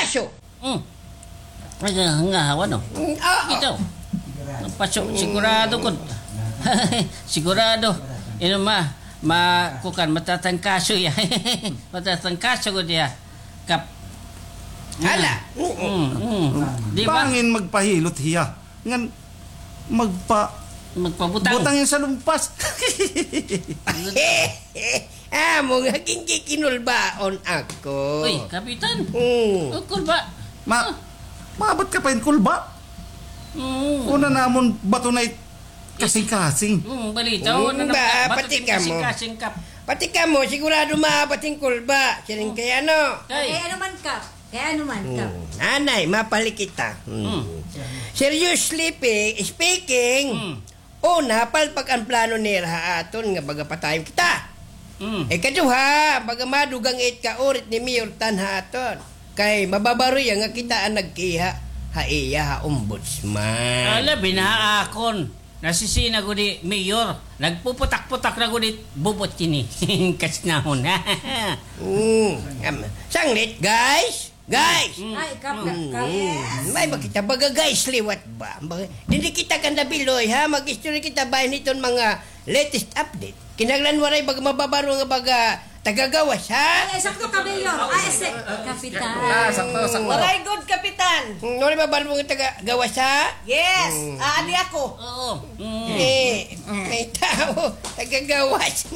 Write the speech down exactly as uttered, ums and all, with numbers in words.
Kaso. Mm. Ay, nga, nga, ano? Mm, oo. Ito. Paso, sigurado ko. Sigurado. Ino ma, ma, kukan, matatangkaso ya. Matatangkaso ko diya. Kap. Hala. Mm, mm. Di ba? Bangin magpahilot hiya. Ngan magpa-, Magpabutang. Butang yun sa lumpas. Amo nga ginkikinulbaon ako. Uy, Kapitan. Mm. O, kulba. Ma-, maabot ka pa yun, kulba? Mm. Una namon bato na it-, kasing-kasing. Mm, balita, Mm, una ba, na-, bato pati din kamo. Kasing-kasing kap. Pati kamo, sigurado maabat hin kulba. Siring kay ano? Kay. Kay ano man kap? Kay ano man kap? Mm. Anay, mapali kita. Mm. Mm. Seriously pe-, speaking, Mm. una, palpak an plano nira ha aton nga baga patayon kita. Mm. Ikaduha, baga madugang it kaurit ni Mayor Tan ha aton. Kay mababaro iya nga kita an nagkiha ha iya ha ombudsman. Ala, binaha akon. Nasisina gud hi Mayor. Nagpuputak-putak na gud it bubot kini. Kasnahon. Mm. Am, sanglit, guys. Guys. Mm. Ay, kap, kap, kap. Mm. May makita baga, guys, liwat ba? Baga, dili kita kanda biloy, ha? Mag-istorya kita bahin hiton mga latest update. Kinahanglan waray baga mababaro nga baga taga-gawas, ha? Ay, ay, sakto ka, Mayor. Ay, si-, Kapitan. Ah, sakto, sakto. Waray gud, Kapitan. Mm, waray mababaro nga taga-gawas, ha? Yes. Mm. Ah, adi ako. Oo. Mm. Eh, may tao, taga-gawas.